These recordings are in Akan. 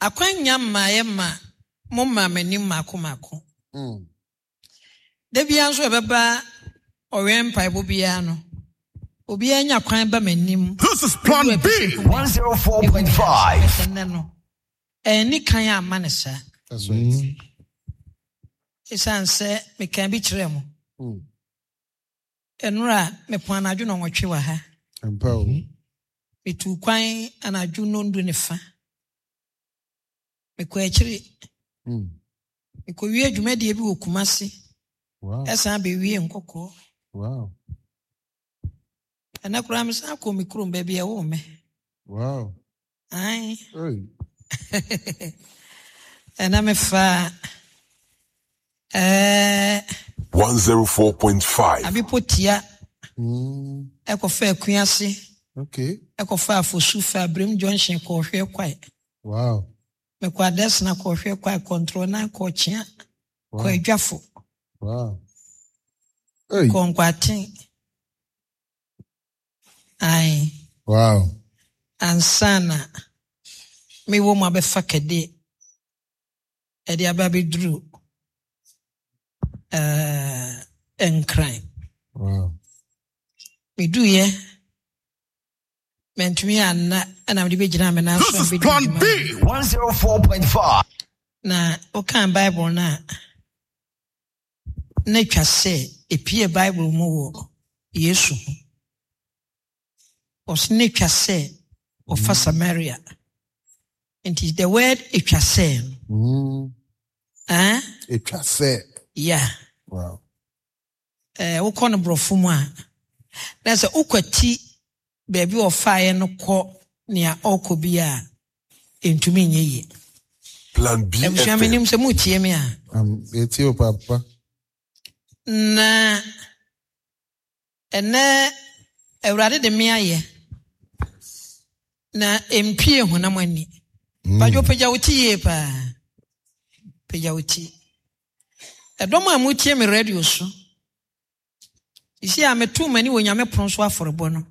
Akwannya mmaeɛ ma mo maa m'anim mmaako mmaako. Da biara nso ɛbɛba ɔwɛn mpaebɔ biara no, obiara nya kwan ba m'anim. This is Plan B. 104.5. Ɛnnɛ no, ɛnni kan amma no saa. That's right. Esiane sɛ mekaa bi kyerɛɛ mo. Ɛnora mepɔn anadwo nnɔnwɔtwe wɔ ha. Ampa o. Metuu kwan anadwo nnɔndu ne fa. Mekɔ akyiri. Mekɔwie dwumadie bi wɔ Kumasi. Wow. Ɛsan bɛwie Nkɔkɔɔ. Wow. Ɛnɛ koraa mesan kɔ me kurom baabi a ɛwoo me. Wow. Ae. Hey. Ɛnɛ mefaa ɛɛ 104.5. Abepɔ tia ɛkɔfa Akuase. Okay. Ɛkɔfa Afosu fa Abrem Junction kɔɔhwɛ kwae. Wow. Mekɔ Adesina kɔɔhwɛ kwae, kɔntrɔ nan kɔɔkyea, Wow. kɔ Adwafo, Wow. Hey. kɔ Nkwaten. Ae. Wow. Ansa na mewɔ mu abɛfa kɛde ɛde aba abɛduru ɛɛ Nkran. Wow. Meduiɛ, mantumi anna ɛna mede bɛgyina me nan so This is a mebɛdi Plan dwuma. B. 104.5. Na wokan Bible no a, na atwa sɛ epie Bible mu wɔ Yesu ho. Ɔso na atwa sɛ ɔfa Samaria. Nti the word atwa sɛ no. Eh? Atwa sɛ. Yeah. Wow. Wokɔ no borɔfo mu a, na sɛ wokwati baabi a ɔfaeɛ no kɔ nea ɔrekɔ bi a, ɛntumi nyɛ yie. Plan B Abusua FM. menim sɛ motie me a. Yɛtie o papa. Na ɛnɛ Awurade de me ayɛ na ɛmpie honam ani. Badwo pagya wo ti yie paa. Pagya wo ti. Ɛdɔm a motie me radio so. Sisi a meto m'ani wɔ Nyame pono so afɔrebɔ no.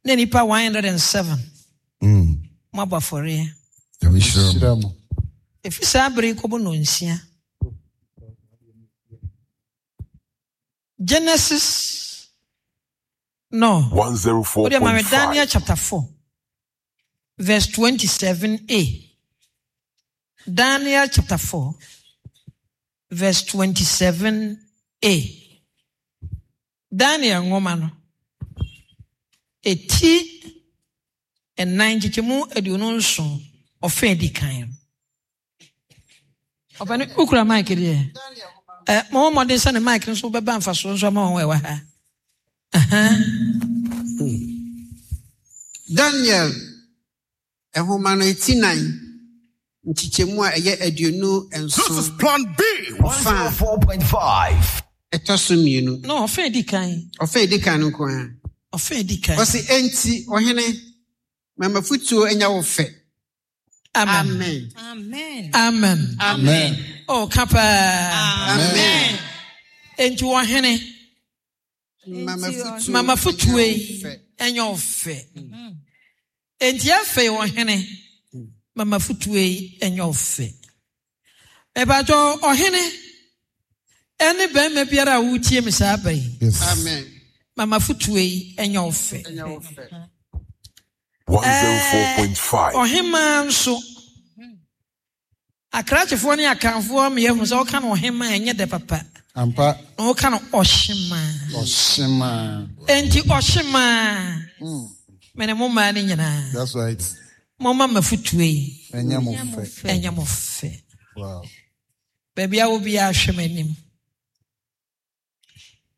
Na nnipa 107 moabɔ afɔreɛ. Nyame hyira mo. Hyira mo. Ɛfiri saa bere yi kɔbɔ nnɔnsia. Genesis no. Wode ma me Daniel 104.5. chapter 4 verse 27a. Daniel chapter 4 verse 27a. Daniel nwoma no eti ɛnan nkyekyɛmu 27 ɔfɛ edi kan no. Ɔpɛni wokura mic deɛ? Mo mmɔden sɛ ne mic nso bɛba mfasoɔ nso ama wɔn a ɛwɔ ha. Daniel nhoma no eti nan nkyekyɛmu a ɛyɛ 27. This is Plan B. 104.5. Ɛtɔ so mmienu. No, ɔfɛ edi kan. Ɔfɛ edi kan no nko ara. Ɔfɛ edi kan. Ɔsi enti ɔhene mama futuo anya wo fɛ. Amen. Amen. Amen. Amen. Oh, kapa. Amen. Enti ɔhene Mama futuo mama futuo yi anya wo fɛ. Enti afei ɔhene mama futuo yi anya wo fɛ. Mebatɔ ɔhene ɛne bɛrima biara a wotie me saa ba yi. Yes. Amen. Mama futuo yi anya wo fɛ. Anya wo fɛ. 104.5. Ɔhemaa nso akrakyefoɔ ne akanfoɔ meyɛ hu sɛ woka no ɔhemaa ɛnyɛ dɛ papa. Ampa. Na woka no ɔhyemaa. Ɔhyemaa. Enti ɔhyemaa. Mene mo mmaa no nyinaa. That's right. Momma mafotuo yi. Ɛnyɛ mo fɛ. Ɛnyɛ mo fɛ. Wow. Baabi a wo biara hwɛ m'anim.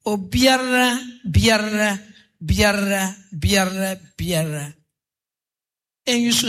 Obiara, biara, biara, biara, biara. Enyi so